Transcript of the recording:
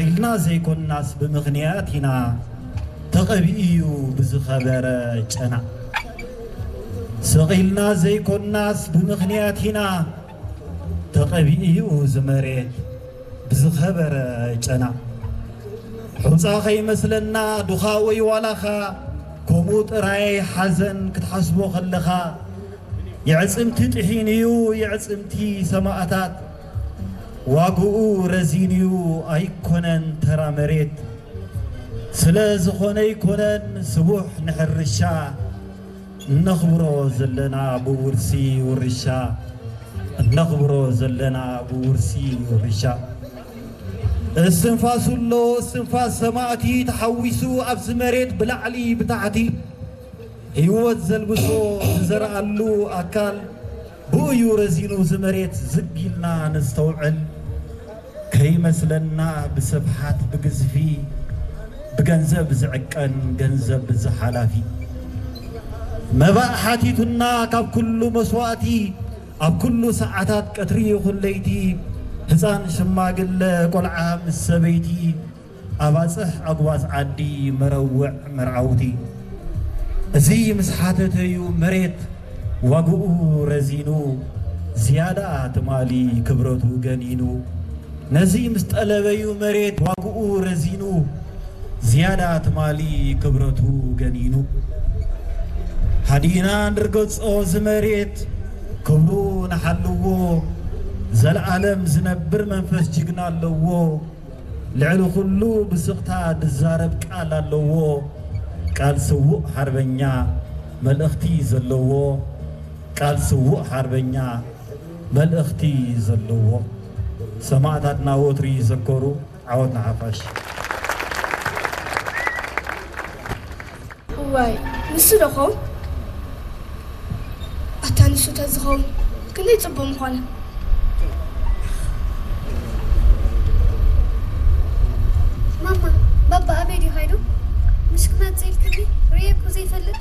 ኢልና ዘይኮንናስ ብምኽንያት ኢና፣ ተቐቢኡ እዩ ብዝኸበረ ጨና። ስቕ ኢልና ዘይኮንናስ ብምኽንያት ኢና፣ ተቐቢኡ እዩ እዚ መሬት ብዝኸበረ ጨና። ሑጻ ከይመስለና ዱኻ ወይ ዋላኻ፣ ከምኡ ጥራይ ሓዘን ክትሓስቦ ከለኻ፣ የዕጽምቲ ጥሒኑ እዩ፣ የዕጽምቲ ሰማእታት ዋግኡ ረዚኑ እዩ፣ ኣይኮነን ተራ መሬት። ስለ ዝኾነ ኣይኮነን ስቡሕ ንሕርሻ፣ እነኽብሮ ዘለና ብውርሲ ውርሻ፣ እነኽብሮ ዘለና ብውርሲ ውርሻ። እስትንፋሱ ኣሎ፣ እስትንፋስ ሰማእቲ ተሓዊሱ ኣብዚ መሬት ብላዕሊ ብታሕቲ ህይወት ዘልብሶ ዝዘርኣሉ ኣካል ብኡ እዩ ረዚኑ። እዚ መሬት ዝግ ኢልና ነስተውዕል፣ ከይመስለና ብስፍሓት ብግዝፊ፣ ብገንዘብ ዝዕቀን ገንዘብ ዝሓላፊ። መባእ ሓቲቱና ካብ ኩሉ መስዋእቲ፣ ኣብ ኩሉ ሰዓታት ቀትሪ ይኹን ለይቲ፣ ህፃን ሽማግለ ቆልዓ ምስ ሰበይቲ፣ ኣባፅሕ ኣጉባዝ ዓዲ መረውዕ መርዓውቲ። እዚ ምስ ሓተተዩ መሬት ዋግኡ ረዚኑ፣ ዝያዳ ትማሊ ክብረቱ ገኒኑ። ነዚ ምስ ጠለበዩ መሬት ዋግኡ ረዚኑ፣ ዝያዳ ትማሊ ክብረቱ ገኒኑ። ሃዲና ንርገጾ እዚ መሬት ክብሩ ንሓልዎ፣ ዘለኣለም ዝነብር መንፈስ ጅግና ኣለዎ። ልዕሊ ኩሉ ብስቕታ ዝዛረብ ቃል ኣለዎ። ቃል ስዉእ ሓርበኛ መልእኽቲ ዘለዎ፣ ቃል ስዉእ ሓርበኛ መልእኽቲ ዘለዎ። ሰማእታትና ወትሩ ይዘከሩ። ዓወት ንሓፋሽ። እዋይ፣ ንሱ ዶ ኸውን? ኣታ ንሱ ተዝኸውን ክንደይ ጽቡቕ ምኾነ። ማማ፣ ባባ ኣበይ ድዩ ኸይዱ? ምሽ ክመጽእ ኢልክኒ ርእየ እኮ ዘይፈልጥ።